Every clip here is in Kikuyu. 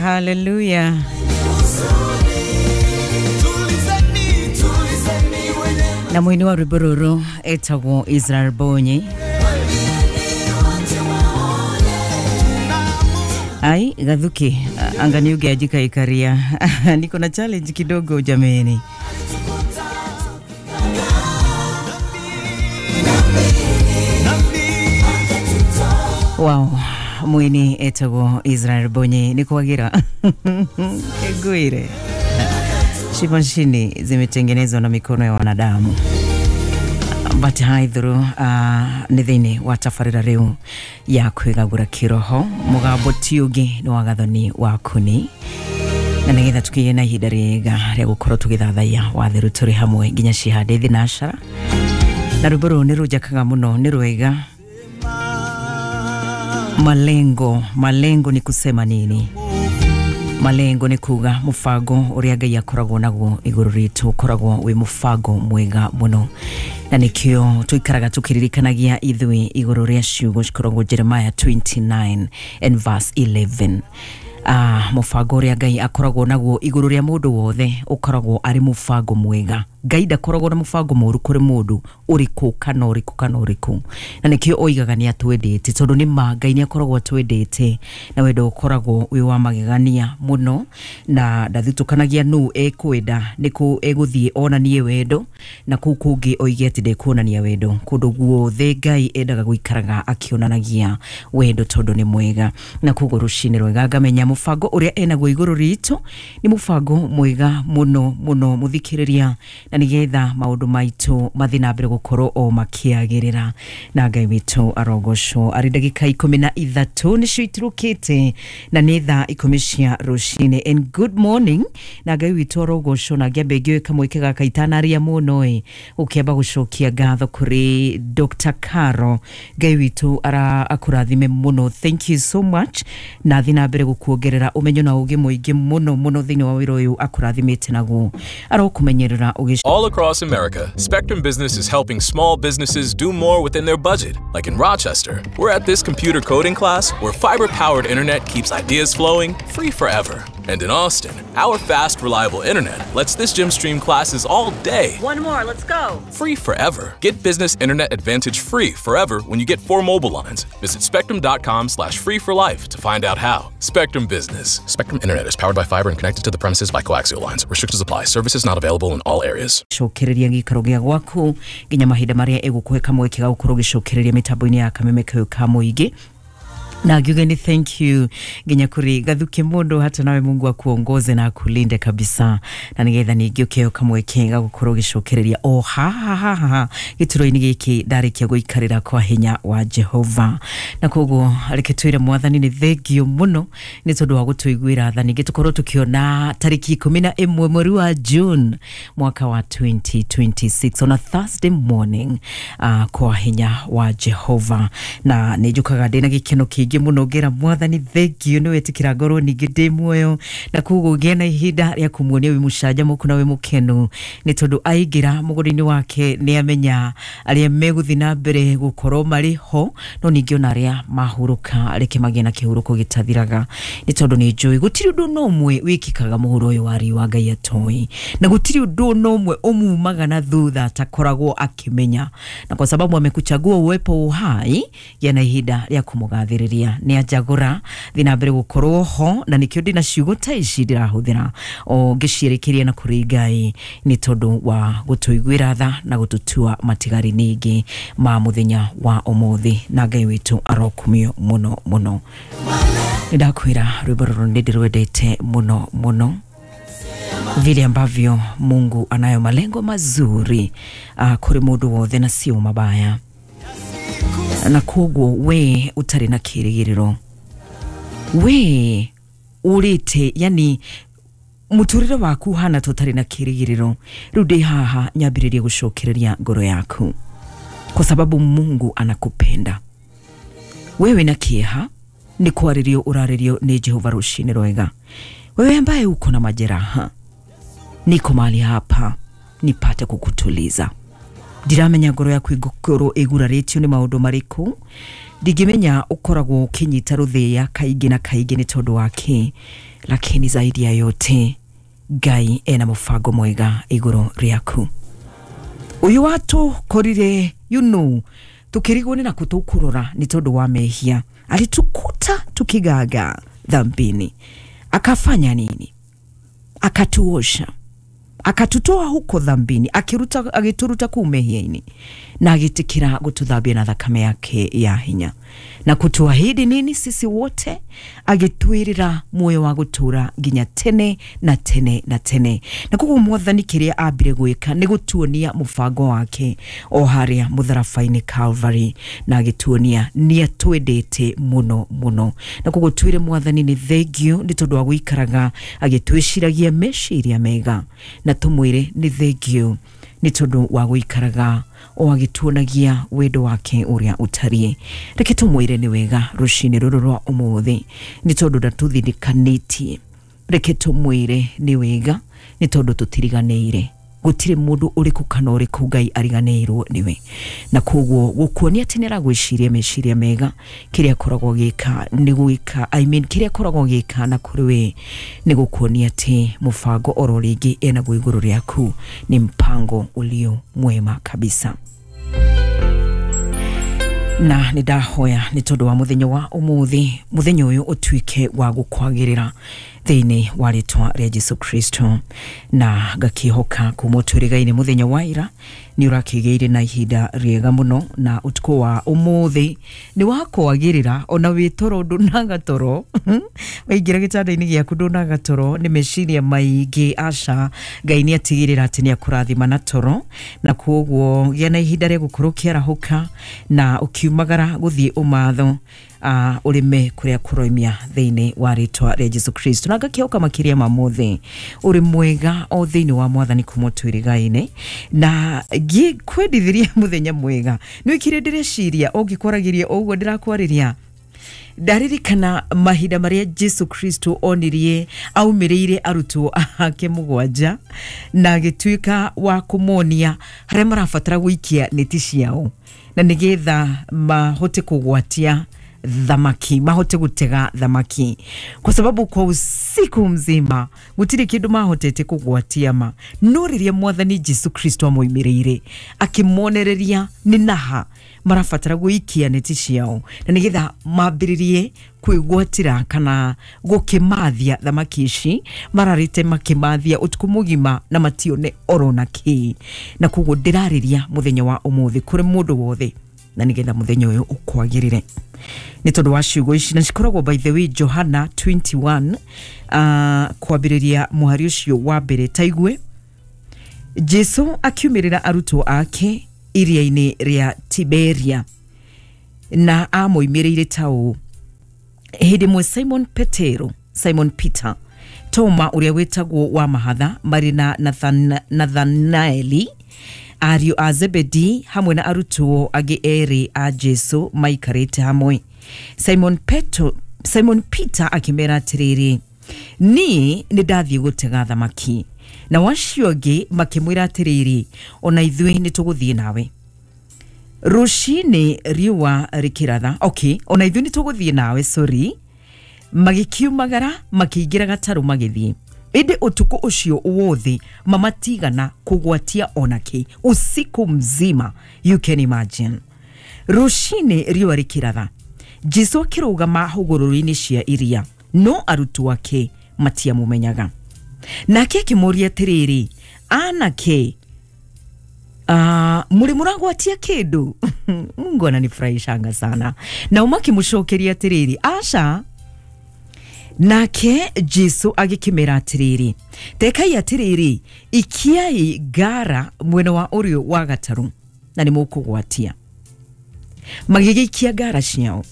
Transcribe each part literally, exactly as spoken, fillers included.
Haleluya. Na mwini wa rwimbo rũrũ etagwo Israel Bonyi. Ai, Gathuki, anga niuge ajika ikaria. Niko na challenge kidogo jameni. Wow, mwini etagwo Israel Bonyi ni kwagira. Egwire. Shimashini zimetengenezwa na mikono ya wanadamu. But haithuru uh, nĩ thĩinĩ wa tabarĩra rĩu ya kwĩgagũra kĩroho mũgambo ti ũngĩ nĩ wa Gathoni wa Kuni, na nĩgetha tũkĩgĩe na ihinda rĩega rĩa gũkorwo tũgĩthathaiya watheru tũrĩ hamwe nginya cihande thinacara. Na rwĩmbo rũrũ nĩ rũnjakaga mũno, nĩ rwega. Malengo, malengo ni kusema nini? Malengo ni kuga mubango uria Ngai akoragwo naguo iguru ritu ukoragwo wi mubango mwega muno, na nikio tuikaraga tukiririkanagia ithui iguru ria ciugo cikoragwo Jeremiah twenty-nine and verse eleven. Ah, mubango uria Ngai akoragwo naguo iguru ria mundu wothe ukoragwo ari mubango mwega. Ngai ndakoragwo na mubango muru kuri mundu uriku kana uriku kana uriku, na nikio oigaga ni atwendete tondu ni ma Ngai ni akoragwo atwendete na wendo ukoragwo wi wa magegania muno, na ndathutũkanagia nu ekwenda niku eguthie onanie wendo na kuu kungi oige ati ndekuonania wendo. Kundu guothe Ngai endaga guikaraga akionanagia wendo tondu ni mwega, na koguo rucini rwega ngamenya mubango uria enaguo iguru ritu ni mubango mwega muno muno muthikiriria, na nigetha maundu maitu mathi na mbere gukorwo o makiagirira. Na Ngai witu arogocwo. Ari ndagika ikumi na ithatu nicio itirukite na ni thaa ikumi cia rucini. And good morning. Na Ngai witu arogocwo. Na ngiambe ngiũĩ kamweke gaka itanaria muno ĩ ukiamba gucokia ngatho kuri Doctor Caro. Ngai witu ara akurathime muno, thank you so much, na thi na mbere gukuongerera umenyo na ugi muingi muno muno thiini wa wira uyu akurathimite naguo arokumenyerera. All across America, Spectrum Business is helping small businesses do more within their budget. Like in Rochester, we're at this computer coding class where fiber-powered internet keeps ideas flowing free forever. And in Austin, our fast, reliable internet lets this gym stream classes all day. One more, let's go. Free forever. Get business internet advantage free forever when you get four mobile lines. Visit spectrum dot com slash free for life to find out how. Spectrum Business. Spectrum Internet is powered by fiber and connected to the premises by coaxial lines. Restrictions apply. Services not available in all areas. Cokereria gĩikaro gĩa gwaku nginya mahinda marĩa ĩgũkũhe kamweke ga gũkorwo ũgĩcokereria mĩtambo-inĩ ya kameme kau ka mũingĩ. Na ngiuge ni thank you nginya kuri Gathuki mundu, hata nawe Mungu akuongoze na akulinde kabisa, na nigetha ningĩ ũkĩheo kamweke ga gũkorwo ũgĩcokereria o haha haha gĩturo-inĩ gĩkĩ ndarĩkia gũikarĩra kwa hinya wa Jehova. Na koguo reke twĩre Mwathani nĩ thengio mũno nĩ tondũ wa gũtũiguĩra tha, ningĩ tũkorwo tũkĩona tarĩki ikũmi na ĩmwe mweri wa June mwaka wa twenty twenty-six on a Thursday morning, uh, kwa hinya wa Jehova. Na nĩ njũkaga ndĩna gĩkeno kĩingĩ muno ngera Mwathani thengio nĩ wetĩkĩra ngorwo ningĩ ndĩ muoyo, na koguo ngĩe na ihinda rĩa kũmuonia wĩ mũcanjamũku na wĩ mũkenu, nĩ tondũ aingĩra mũgũnda-inĩ wake nĩ amenya arĩa megũthiĩ na mbere gũkorwo marĩ ho, no ningĩ ona arĩa mahurũka reke magĩe na kĩhurũko gĩtathiraga, nĩ tondũ nĩ njũĩ gũtirĩ ũndũ na ũmwe wĩkĩkaga mũhuro ũyũ wa riũa Ngai atoĩ, na gũtirĩ ũndũ na ũmwe ũmumaga na thutha atakoragwo akĩmenya, na kwa sababu amekuchagua uwepo uhai gĩa na ihinda rĩa kũmũgathĩrĩria. Nĩ anjagũra thiĩ na mbere gũkorwo ho, na nĩkĩo ndĩna ciugo ta ici ndĩrahũthĩra o ngĩciĩrĩkĩria na kũrĩ Ngai, nĩ tondũ wa gũtũiguĩra tha na gũtũtua matigari ningĩ ma mũthenya wa ũmũthĩ. Na Ngai witũ arokumio mũno mũno. Nĩ ndakwĩra rwĩmbo rũrũ nĩ ndĩrwendete mũno mũno, vile ambavyo Mungu anayo malengo mazuri uh, kũrĩ mũndũ wothe na sio mabaya, na koguo we ũtarĩ na kĩrĩgĩrĩro, we ũrĩte, yani mũtũrĩre waku hana ta ũtarĩ na kĩrĩgĩrĩro, rĩu ndĩ haha nyambĩrĩrie gũcokereria ngoro yaku, kwa sababu Mungu anakupenda wewe. Na kĩeha nĩ kwarĩrio ũrarĩrio nĩ Jehova rũcinĩ rwega. Wewe ambaye uko na majeraha, niko mahali hapa nipate kukutuliza. Ndiramenya ngoro yaku ĩngũkorwo ĩgurarĩtio nĩ maũndũ marĩkũ, Ndingĩmenya ũkoragwo ũkĩnyita rũthĩa kaingĩ na kaingĩ nĩ tondũ wa kĩ, lakini zaidi ya yote Ngai ena mũbango mwega igũrũ rĩaku. Ũyũ watũkorire, you know, tukirigwo nĩ nakũ tũkũrora nĩ tondũ wa mehia, alitukuta tukigaga dhambini, akafanya nini? Akatuosha, akatutoa huko dhambini, akiruta agituruta kuu mehia-inĩ na agitikira gututhambia na thakame yake ya hinya na kutuahidi nini sisi wote, agitwirira muoyo wa gutura nginya tene na tene na tene. Na koguo Mwathani kiria ambire gwika ni gutuonia mubango wake o haria mutharaba-inĩ Calvary, na agituonia ni atwendete muno muno. Na koguo twire Mwathani ni thengiũ ni tondu wa guikaraga agitwiciragia meciria mega, na tumwire ni thengiũ ni tondu wa guikaraga o agituonagia wendo wake uria utarie. Reke tumwire ni wega rucini ruru rwa umuthi ni tondu ndatũthindĩkanĩtie. Reke tumwire ni wega ni tondu tutiriganĩire, gutire mundu uriku kana uriku Ngai ariganĩirwo niwe. Na koguo gukuonia atĩ nĩaragwĩciria meciria mega, kĩrĩa akoragwo agĩka nĩ gwĩka, I mean kĩrĩa akoragwo agĩka na kũrĩ we nĩ gukuonia atĩ mũbango oro rĩngĩ enaguo igũrũ rĩaku ni mpango ulio mwema kabisa. Na nĩ ndahoya nĩ tondũ wa mũthenya wa ũmũthĩ, mũthenya ũyũ ũtuĩke wa gũkwagĩrĩra thĩinĩ wa rĩtwa rĩa Jesu Kristo. Na ngakĩhoka kuma ũtwĩrĩga-inĩ mũthenya wa ira nĩ ũrakĩgĩire na ihinda rĩega mũno, na ũtukũ wa ũmũthĩ nĩ wakwagĩrĩra ona wĩ toro ndũnaga toro waingĩra gĩtanda-inĩ gĩaku ndũnaga toro nĩ meciria maingĩ. Aca, Ngai nĩ atigĩrĩra atĩ nĩ akũrathima na toro, na koguo gĩa na ihinda rĩa gũkorwo ũkĩarahũka na ũkiumagara gũthiĩ ũmatho, uh, ũrĩme kũrĩa kũroimia thĩinĩ wa rĩtwa rĩa Jesu Kristo. Na ngakĩhoka makĩria ma mothe ũrĩ mwega o thĩinĩ wa Mwathani kuma twĩrĩga-inĩ, na ngĩkwendithiria mũthenya mwega. Nĩ wĩkire ndĩreciria ũngĩkwaragĩria ũguo ndĩrakwarĩria, ndaririkana mahinda marĩa Jesu Kristo onirie aumĩrĩire arutwo ake mũgwanja na agĩtuĩka wa kũmonia harĩa marabatara gũikia neti ciao na nĩgetha mahote kũgwatia thamaki, mahote gutega thamaki, kwa sababu kwa usiku mzima gutiri kindu mahotete kugwatia ma. No riria Mwathani Jesu Kristo amoimĩrĩire akĩmonereria nĩ naha marabatara gũikia neti ciao na nĩgetha mambĩrĩrie kwĩgwatĩra kana gũkĩmathia thamaki ici mararĩte makĩmathia ũtukũ mũgima na matione oro na kĩ. Na koguo ndĩrarĩria mũthenya wa ũmũthĩ kũrĩ mũndũ wothe na nĩgetha mũthenya ũyũ ũkwagĩrĩre nĩ tondũ wa ciugo ici, na cikoragwo by the way Johana twenty-one, uh, kwambĩrĩria mũhari ũcio wa mbere. Taigue Jesu akiumĩrĩra arutwo ake iria-inĩ rĩa Tiberia, na amoimĩrĩire ta ũũ: hĩndĩ ĩmwe Simon Petero, Simon Peter, Toma ũrĩa wĩtagwo wa mahatha, marĩ na Nathan, Nathanaeli ariũ a Zebedi hamwe na arutwo angĩ erĩ a Jesu maikarĩte hamwe. Simon Petro, Simon Peter akĩmera atĩrĩrĩ, niĩ nĩ ndathiĩ gũtega thamaki. Na wacio angĩ makĩmwĩra atĩrĩrĩ, ona ithuĩ nĩ tũgũthiĩ nawe. Rũcinĩ riũa rĩkĩratha, okay, ona ithuĩ nĩ tũgũthiĩ nawe, sorry. Magĩkiumagara makĩingĩra gatarũ magĩthiĩ. Ĩndĩ ũtukũ ũcio wothe mamatigana kũgwatia onake, usiku mzima, you can imagine. Rũcinĩ riũa rĩkĩratha, Jesu akĩrũgama hũgũrũrũ-inĩ cia iria, no arutwo ake matiamũmenyaga. Nake akĩmũũria atĩrĩrĩ, anake, uh, mũrĩ mũragwatia kĩndũ? Mungu ananifurahishanga sana. Nao makĩmũcokeria atĩrĩrĩ, aca. Nake Jesu agĩkĩmera atĩrĩrĩ, tekai atĩrĩrĩ, ikiai ngara mwena wa ũrĩo wa gatarũ na nĩ mũkũgwatia. Magĩgĩikia ngara ciao,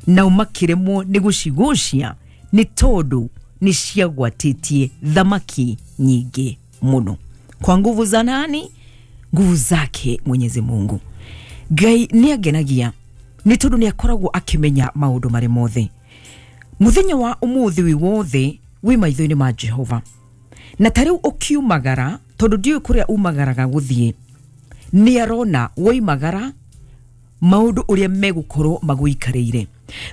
nao makĩremwo nĩ gũcigucia nĩ tondũ nĩ ciagwatĩtie thamaki nyingĩ mũno. Kwa nguvu za nani? Nguvu zake Mwenyezi Mungu. Ngai nĩ angenagia nĩ tondũ nĩ akoragwo akĩmenya maũndũ marĩ mothe. Mũthenya wa ũmũthĩ wĩ wothe wĩ maitho-inĩ ma Jehova. Na ta rĩu ũkiumagara, tondũ ndiũĩ kũrĩa umagaraga gũthiĩ, nĩ arona woimagara maundu uria megukorwo maguikarĩire.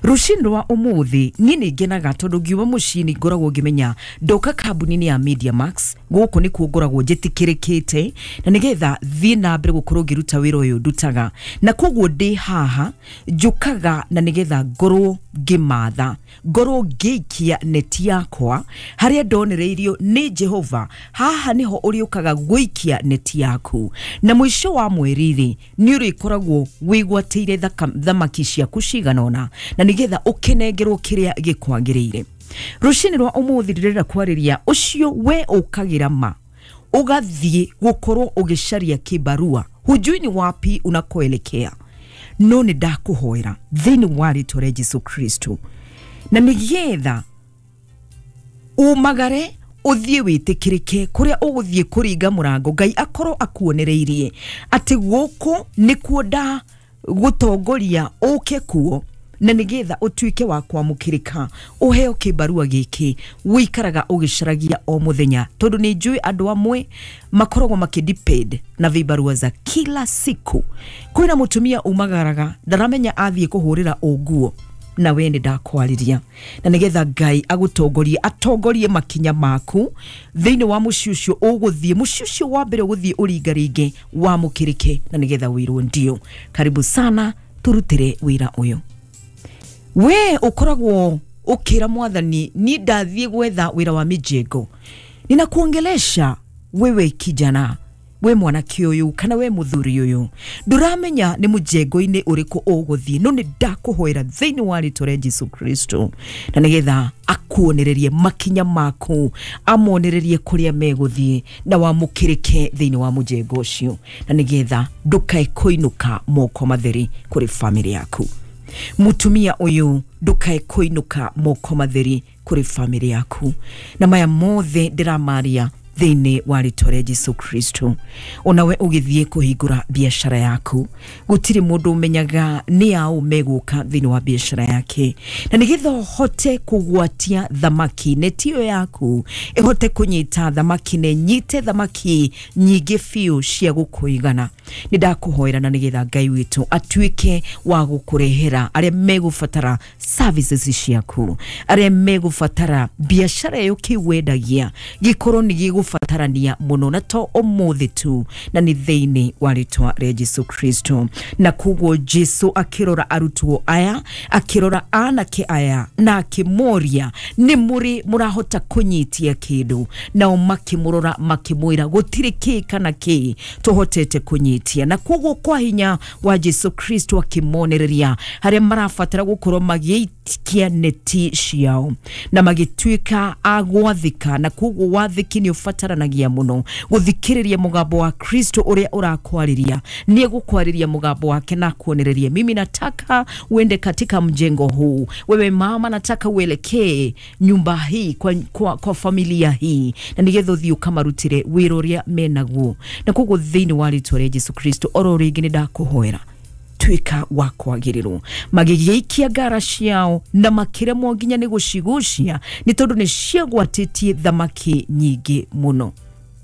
Rũcinĩ rwa ũmũthĩ niĩ nĩ ngenaga tondũ ngiuma mũciĩ nĩ ngoragwo ngĩmenya ndoka kambuni-inĩ ya Media Max, gũkũ nĩkuo ngoragwo njĩtĩkĩrĩkĩte na nĩgetha thiĩ na mbere gũkorwo ngĩruta wĩra ũyũ ndutaga, na koguo ndĩ haha njũkaga na nĩgetha ngorwo ngĩmatha, ngorwo ngĩikia neti yakwa harĩa ndonereirio nĩ Jehova. Haha nĩho ũrĩũkaga gũikia neti yaku, na mũico wa mweri-rĩ nĩ ũrĩkoragwo wĩgwatĩire thamaki ciaku cigana ũna na nigetha ukinengerwo kiria gikwagiriire. Rucini rwa umuthi ndirenda kwariria ucio we ukagira ma ugathie gukorwo ugicaria kibarua, hujui ni wapi unakoelekea, no ni ndakuhoera thiini wa ritwa ria Jesu Kristo, na nigetha umagare uthie witikirike kuria uguthie kuringa murango, Ngai akorwo akuonereirie ati guku nikuo nda gutongoria uke kuo, na nigetha utuike wa kwamukirika uheo kibarua giki wikaraga ugicaragia o muthenya, tondu ni njui andu amwe makoragwo makidepend na vibarua za kila siku. Kwina mutumia umagaraga ndaramenya athie kuhurira unguo, na we ni ndakwariria na nigetha Ngai agutongorie atongorie makinya maku thiini wa muciĩ ucio uguthie, muciĩ ucio wa mbere uguthie uringaringe wamukirike na nigetha wirwo ndio. Karibu sana turutire wira uyu. We ukoragwo ukira mwathani ni ndathie gwetha wira wa mijengo, ninakuongelesha wewe kijana, we mwanake uyu kana we muthuri uyu, nduramenya ni mujengo-ini uriku uguthie, no ni ndakuhoera thiini wa ritwa ria Jesu Kristo na nigetha akuonererie makinya maku, amonererie kuria meguthie na wamukirike thiini wa mujengo ucio, na nigetha ndukae kuinuka moko matheri kuri family yaku. Mutumia uyu ndukae kuinuka moko matheri kuri family yaku, na maya mothe ndiramaria thiini wa ritwa ria Jesu Kristo. Onawe ugithie kuhingura biashara yaku, gutiri mundu umenyaga ni au meguka thiini wa biashara yake, na nigetha uhote kugwatia thamaki neti iyo yaku ihote kunyita thamaki ne nyite thamaki nyingi biũ cia gukuigana, ni ndakuhoera na nigetha Ngai witu atuike wa gukurehera aria megubatara services ciaku, aria megubatara biashara iyo kiwendagia gikorwo ni gigubatarania muno, na to umuthi tu, na ni thiini wa ritwa ria Jesu Kristo. Na koguo Jesu akirora arutwo aya, akirora anake aya na akimoria ni muri murahota kunyitia kindu, nao makimurora makimwira gutiri ki kana ki tuhotete kunyitia. Na koguo kwa hinya wa Jesu Kristo akimonereria haria marabatara gukorwo magiikia neti ciao na magituika agwathika, na koguo wathiki ni ubataranagia muno guthikiriria mugambo wa Kristo uria urakwariria, ni egukwariria mugambo wake na kuonereria mimi nataka uende katika mjengo huu, wewe mama nataka uelekee nyumba hii kwa, kwa, kwa familia hii, na nigetha uthii ukamarutire wira uria menaguo. Na koguo thiini wa ritwa ria Jesu Kristo oro ringi ni ndakuhoera tuika wa kwagirirwo, magigĩikia ngara ciao na makĩremwo nginya nĩ gũcigucia nĩ tondũ nĩ ciagwatĩtie thamaki nyingĩ mũno.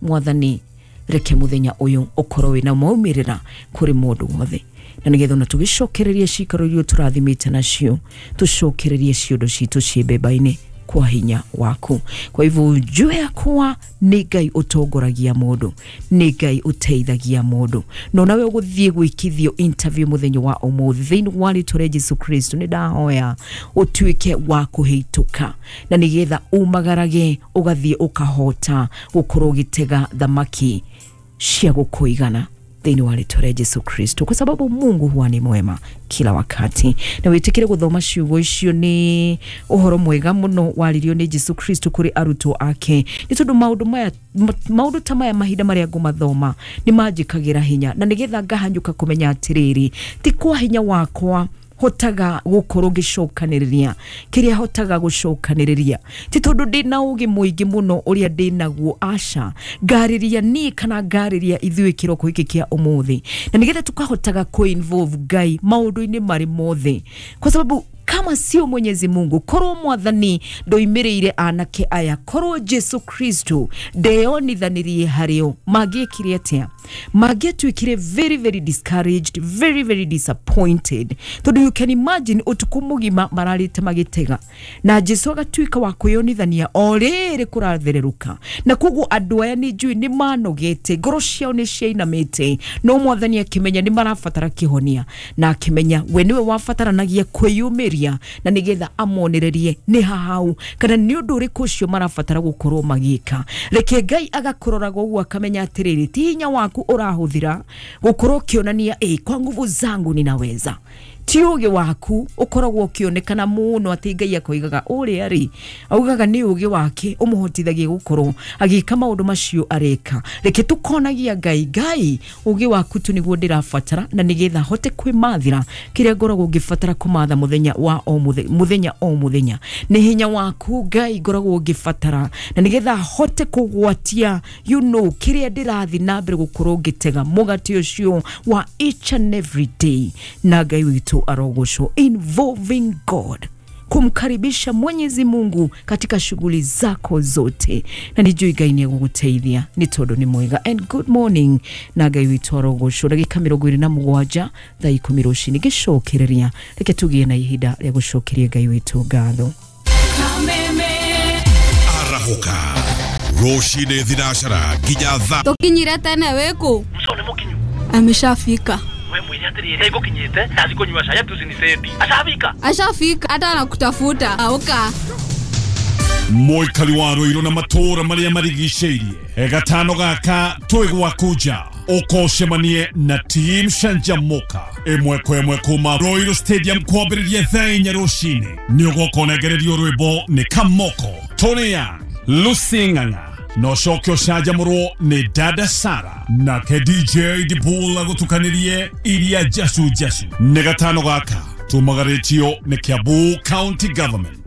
Mwathani reke muthenya ũyũ ũkorwo wĩna maumĩrĩra kũrĩ mũndũ wothe, na nĩgetha ona tũgĩcokererie cikaro iria tũrathimĩte nacio, tũcokererie ciondo citũ ciĩ mbemba-inĩ kwa hinya waku. Kwa hivyo ujue ya kuwa ni Ngai utongoragia mundu, ni Ngai uteithagia mundu, no nawe uguthie gwikithio interview muthenya wa umuthi thiini wa ritwa ria Jesu Kristo ni ndahoya utuike wa kuhituka, na nigetha umagarage ugathie ukahota gukorwo ugitega thamaki cia gukuigana thiini wa ritwa ria Jesu Kristo, kwa sababu Mungu huwa ni mwema kila wakati. Na witikire guthoma ciugo icio ni uhoro mwega muno waririo ni Jesu Kristo kuri arutwo ake, ni tondu maundu maya maundu ta maya mahinda maria ngumathoma ni manjikagira hinya, na nigetha ngahanyuka kumenya atiriri ti kwa hinya wakwa hotaga gukorwo ngicokaniriria kiria hotaga gucokaniriria, ti tondu ndina ugi muingi muno uria ndinaguo, aca ngariria ni kana ngariria ithuĩ kiroko giki kia umuthi, na nigetha tukahotaga ku involve Ngai maundu-ini mari mothe, kwa sababu Kama sio Mwenyezi Mungu, korwo mwathani ndoimĩrĩire anake aya, korwo Jesu Kristo ndeyonithanirie harĩo, mangĩekire atĩa? Mangĩatuĩkire very very discouraged, very very disappointed, tondũ you can imagine ũtukũ mũgima mararĩte magĩtega na Jesu agatuĩka wa kwĩyonithania o rĩrĩ kũrathererũka, na koguo andũ aya nĩ njũĩ nĩ manogete, ngoro ciao nĩ ciainamĩte, no mwathani akĩmenya nĩ marabatara kĩhonia, na akĩmenya we nĩwe wabataranagia kwĩyũmĩria na nĩgetha amonererie nĩ hahau kana nĩ ũndũ ũrĩkũ ũcio marabatara gũkorwo magĩka. Reke Ngai agakũroraga ũguo akamenya atĩrĩrĩ, ti hinya waku ũrahũthĩra gũkorwo ũkĩonania ĩ kwa nguvu zangu ninaweza, ti ũgĩ waku ũkoragwo ũkĩonekana mũno atĩ Ngai akoigaga ũrĩa rĩ augaga nĩ ũgĩ wake ũmũhotithagia gũkorwo agĩka maũndũ macio areka. Reke tũkonagia Ngai, Ngai ũgĩ waku tu nĩguo ndĩrabatara na nĩgetha hote kwĩmathĩra kĩrĩa ngoragwo ngĩbatara kũmatha mũthenya wa o mũthenya, mũthenya o mũthenya. Nĩ hinya waku Ngai ngoragwo ngĩbatara na nĩgetha hote kũgwatia you know kĩrĩa ndĩrathiĩ na mbere gũkorwo ngĩtega mũgate ũcio wa each and every day. Na Ngai witũ arogocwo. Involving God, kumkaribisha Mwenyezi Mungu katika shughuli zako zote, na nijui Ngai nĩ egũgũteithia nĩ tondũ nĩ mwega. And good morning na Ngai witũ arogocwo. Ndagĩka mĩrongo ĩrĩ na mũgwanja thaa ikũmi rũcinĩ ngĩcokereria, reke tũgĩe na ihinda rĩa gũcokeria Ngai witũ ngatho. Arahũka rũcinĩ thinacara nginya thaa Tũkinyire tene wĩkũ? Muco nĩ mũkinyu. Ameshafika. We mwĩre atĩrĩrĩ, ngũkinyĩte ndathi kũnyua cai ati ũcinicendi. Ashafika. Ashafika hata anakutafuta. Auka. Mũikari wa Ruiru na matũũra marĩa marigicĩirie, gatano gaka twĩ gwaku nja ũkocemanie na team Canjamuka ĩmwe kwa ĩmwe kuma Ruiru Stadium kwambĩrĩria thaa inya rũcinĩ. Nĩ ũgoka ũnengererio rwĩmbo nĩ Kamoko, Tony Young, Lucy Ng'ang'a, na ũcoke ũcanjamũrwo nĩ Dada Sara nake D J Dibul agũtukanĩrie iria njacu njacu. Nĩ gatano gaka tumagarĩtio nĩ Kiambu County Government.